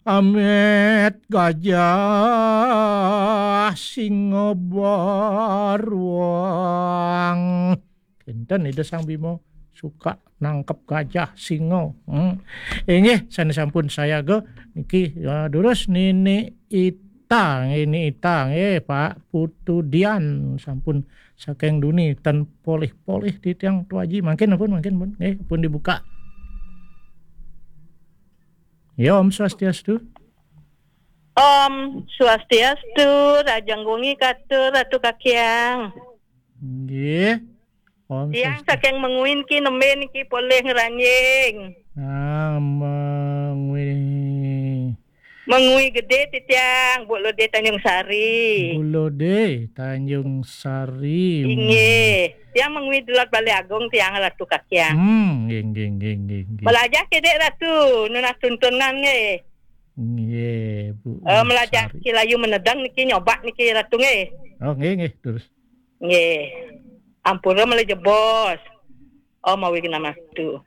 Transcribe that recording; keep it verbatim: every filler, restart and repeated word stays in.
Amit gajah singa baruang. Kinten Ida Sang Bima suka nangkep gajah singa. Hmm. Inggih, sané sampun sayaga niki, ya, durus Nini Ita, Nini Ita, nggih, Pak Putu Dian sampun saking duni ten polih-polih titiang Tu Aji. Mangkin pun, mangkin pun, nggih, pun dibuka. Ya, Om Swastiastu. Om Swastiastu, rahajeng wengi katur Ratu Kakiang. Nggih. Om Tiang Swastiastu. Saking Mengwi niki nembe niki polih ngranjing. Ah, Mengwi. Mengwi Gedé titiang, Bu Lode Tanjung Sari. Bu Lode Tanjung Sari. Inggih. Tiang Mengwi Delod Balé Agung tiang Ratu Kakiang. Hmm, nggih, nggih, nggih, nggih, nggih. Melajah kedék Ratu, nunas tuntunan nggih. Nggih, Bu Eh, melajah Sari. Ki layu menedang niki nyobak niki Ratu nggih. Oh, nggih, nggih, terus. Nggih. Ampura melajah bos. Oh, mawi genah Ratu.